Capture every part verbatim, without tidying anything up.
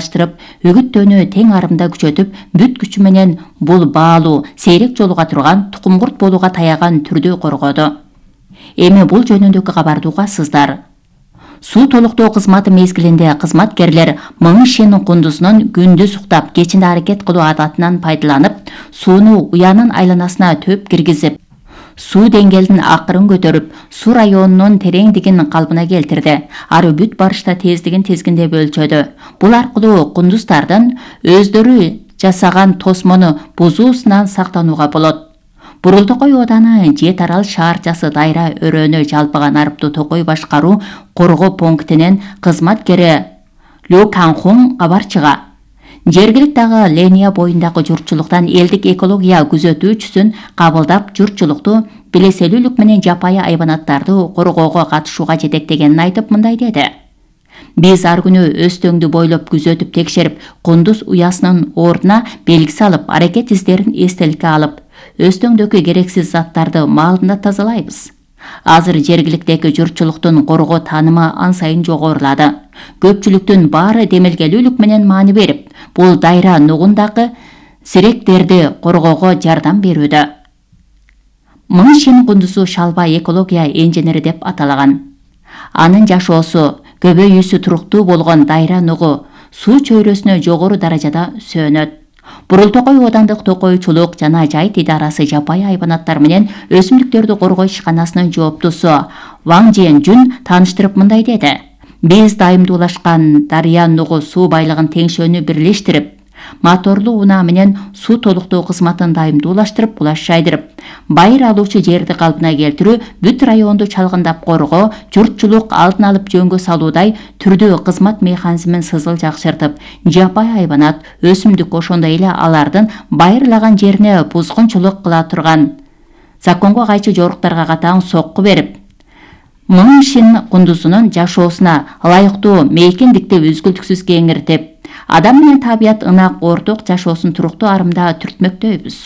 ыңгайлаштырып, үгүттөөнү тең арымда күчөтүп, бүт күчү менен бул баалуу, сейрек жолуга турган, тукумкурт болууга таяган түрдү коргоду. Эми бул жөнүндөгү кабарды угасыздар. Суу толуктоо кызматы мезгилинде кызматкерлер Мың Шин кундузунун күндүз уктап, кечинде аракет кылуу адатынан пайдаланып, сууну уянын айланасына төп киргизип, суу деңгээлин акырын көтөрүп, суу районунун тереңдигин калпына келтирди. Ары бүт барышта тездигин тизгиндеп өлчөдү. Бул аркылуу кундуздардын өздөрү жасаган тосмону бузуусунан сактанууга болот. Бурултокой ооданы Жет Арал шаарчасы дайра өрөөнү жалпыган арыптуу токой башкаруу коргоо пунктинин кызматкери Лю Канхун кабар чыга. Жергилик дагы линия боюндагы журтчулуктан элдик экология күзөтүүчүсүн кабылдап, журтчулукту билеселүүлүк менен жапайы айбанаттарды коргоого катышууга жетектегенин айтып, мындай деди. Биз ар күнү Өзтөңдү бойлоп күзөтүп текшерип, кундуз уясынын ордуна белги салып, аракет издерин эстеликке алып, Өзтөңдөгү керексиз заттарды маалында тазалайбыз. Азыр жергиликтеги журтчулуктун коргоо таанымы ан сайын жогорулады. Көпчүлүктүн баары демелгелүүлүк менен маани берип, бул дайра нугундагы сиректерди коргоого жардам берүүдө. Мың Шин кундузу шалба экология инженери деп аталаган. Анын жашоосу, көбөйүүсү туруктуу болгон дайра нугу суу чөйрөсүнө жогору даражада сөнөт. Бурултокой оодандык токойчулук жана жайыт идарасы жапайы айбанаттар менен өсүмдүктөрдү коргоо ишканасынын жооптусу Ваң Жен Жүн тааныштырып, мындай деди. Биз дайымдуулашкан дарыя нугу суу байлыгын теңшөөнү бирлештирип, моторлуу унаа менен суу толуктоо кызматын дайымдуулаштырып, булаш жайдырып, байыр алуучу жерди калпына келтирүү, бүт районду чалгындап коргоо, журтчулук алдын алып жөнгө салуудай түрдүү кызмат механизмин сызыл жакшыртып, жапайы айбанат, өсүмдүк, ошондой эле алардын байырлаган жерине бузгунчулук кыла турган законго кайчы жоруктарга катаң сокку берип, Мың Шин кундузунун жашоосуна ылайыктуу мейкиндикти үзгүлтүксүз кеңиртип, адам менен табият ынак орток жашоосун туруктуу арымда түртмөктөйбүз.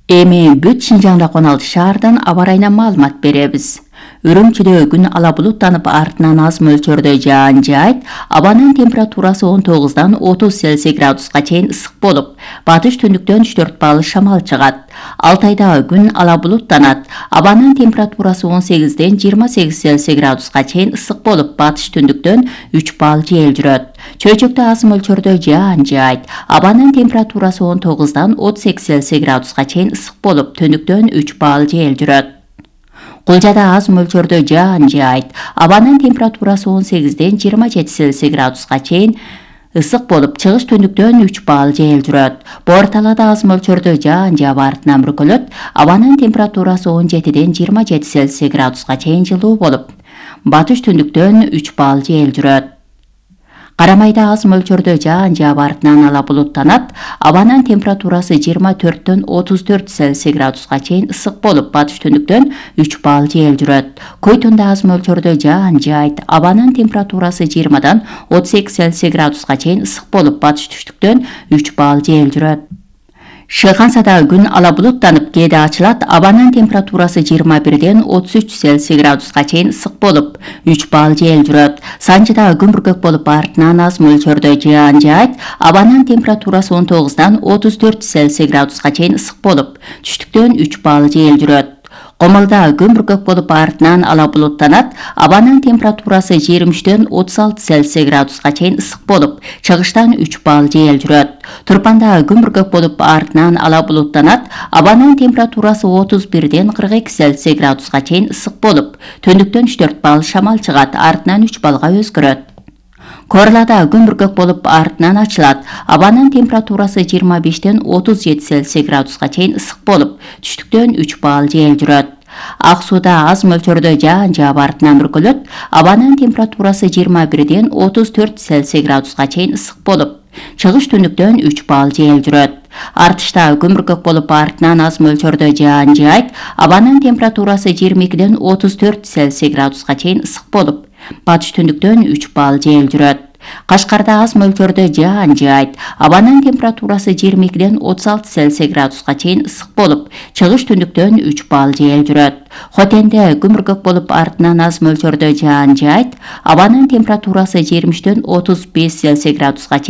Эми бүт Шинжаңда он алты шаардан аба ырайына маалымат беребиз. Үрүмчүдө күн ала булуттанып, артынан аз мөлчөрдө жаан жаайт, абанын температурасы он тогуздан отуз Цельсий градуска чейин ысык болуп, батыш түндүктөн үч төрт балл шамал чыгат. Алтайда күн ала булуттанат, абанын температурасы он сегизден жыйырма сегиз Цельсий градуска чейин ысык болуп, батыш түндүктөн үч балл жел жүрөт. Чөйчөктө аз мөлчөрдө жаан жаайт, абанын температурасы он тогуздан отуз эки Цельсий градуска чейин ысык болуп, түндүктөн үч балл жел жүрөт. Кулжада аз мөлчөрдө жаан жаайт, абанын температурасы он сегизден жыйырма жети Цельсий градуска чейин ысык болуп, чыгыш түндүктөн үч балл жел жүрөт. Боор талаада аз мөлчөрдө жаан жаап, артынан бүркөлөт, абанын температурасы он жетиден жыйырма жети Цельсий градуска чейин жылуу болуп, батыш түндүктөн үч балл жел жүрөт. Карамайда аз мөлчөрдө жаан жаап, артынан ала булуттанат, абанын температурасы жыйырма төрттөн отуз төрт Цельсий градуска чейин ысык болуп, батыш түндүктөн үч балл жел жүрөт. Койтунда аз мөлчөрдө жаан жаайт, абанын температурасы жыйырмадан отуз эки Цельсий градуска чейин ысык болуп, батыш түштүктөн үч балл жел жүрөт. Шыгансада күн ала булуттанып, кээде ачылат, абанын температурасы жыйырма бирден отуз үч Цельсий градуска чейин ысык болуп, үч балл жел жүрөт. Санчыда күн бүркөк болуп, артынан аз мөлчөрдө жаан жаайт, абанын температурасы он тогуздан отуз төрт Цельсий градуска чейин ысык болуп, түштүктөн үч балл жел жүрөт. Комолдо күн бүркөк болуп, артынан ала булуттанат, абанын температурасы жыйырма үчтөн отуз алты Цельсий градуска чейин ысык болуп, чыгыштан үч балл жел жүрөт. Турпанда күн бүркөк болуп, артынан ала булуттанат, абанын температурасы отуз бирден кырк эки Цельсий градуска чейин ысык болуп, түндүктөн үч төрт балл шамал чыгат, артынан үч баллга өзгөрөт. Корлада күн бүркөк болуп, артынан ачылат, абанын температурасы жыйырма бештен отуз жети Цельсий градуска чейин ысык болуп, түштүктөн үч балл жел жүрөт. Ак сууда аз мөлчөрдө жаан жаап, артынан бүркөлөт, абанын температурасы жыйырма бирден отуз төрт Цельсий градуска чейин ысык болуп, чыгыш түндүктөн үч балл жел жүрөт. Артышта күн бүркөк болуп, артынан аз мөлчөрдө жаан жаайт, абанын температурасы жыйырма экиден отуз төрт Цельсий градуска чейин ысык болуп, батыш түндүктөн үч балл жел жүрөт. Кашкарда аз мөлчөрдө жаан жаайт, абанын температурасы жыйырма экиден отуз алты Цельсий градуска чейин ысык болуп, чыгыш түндүктөн үч балл жел жүрөт. Хотенде күн бүркөк болуп, артынан аз мөлчөрдө жаан жаайт, абанын температурасы жыйырма үчтөн отуз беш Цельсий градуска чейин